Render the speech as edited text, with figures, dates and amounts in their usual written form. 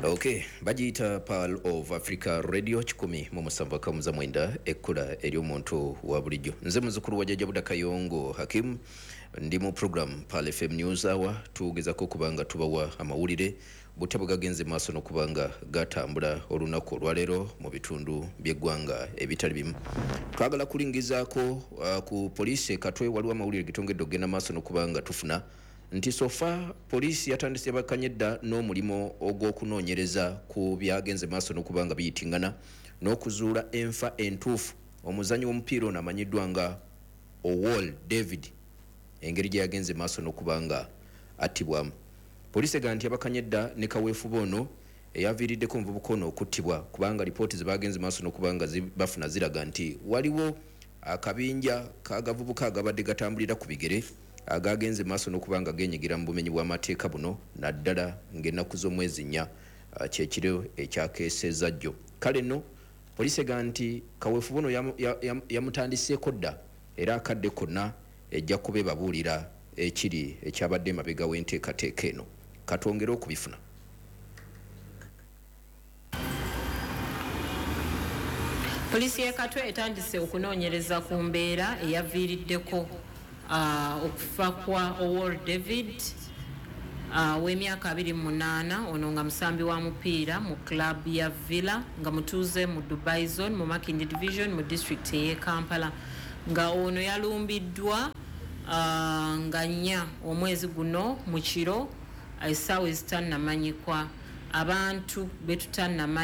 Okay, bagiyita Pearl of Africa Radio 107.9, ekkula ery'omuntu wa bulijjo. Nze muzukulu wa Jjajja Buda Kayongo Hakim, ndi mu program Pearl FM News Hour. Tugezako okuba nga tubawa amawulire butya bwe gagenze maaso n'okuba nga gatambula olunaku olwaleero mu bitundu by'eggwanga ebitali bimu. Twagala kulingizaako ku poliisi e Katwe. Waliwo amawulire getongedde okugenda maaso n'okuba nga tufuna nti so far poliisi yatandise bakanye dda n'omulimu ogw'okunoonyereza ku byagenze maaso n'okuba nga biyitingana n'okuzuula enfa entuufu omuzanyi w'omupiira ono amanyiddwa nga Owol David, engeri gye yagenze maaso n'okuba nga attibwamu. Poliisi egamba nti yabakanye dda ne kaweefube ono eyaviiriddeko omuvubuka ono okuttibwa, kubanga lipooti ze bagenze maaso n'okuba nga bafuna ziraga nti waliwo akabinja k'agavubuka agabadde gatambulira ku bigere agagenze maaso n'okuba nga genyigira mu bumenyi bw'amateeka buno, naddala ng'ennaku z'omwezi 4, kyekiro ekyakeeseza jjo. Kale nno poliisi egamba nti kaweefube ono yamutandiseeko dda, era akadde konna ejja kuba ebabuulira ekiri ekyabadde emabega w'enteekateeka eno. Katwongere okubifuna. Poliisi y'e Katwe etandise okunoonyereza ku mbeera eyaviiriddeko okufa kwa Owol David w'emyaka 28, ono nga musambi wa mupiira mu club ya Villa, nga mutuuze mu Dubai Zone mu Makindye Division mu disitulikiti ey'e Kampala, nga ono yalumbiddwa nga 4 omwezi guno mu kiro essaawa ezitannamanyikwa abantu betutannamanya.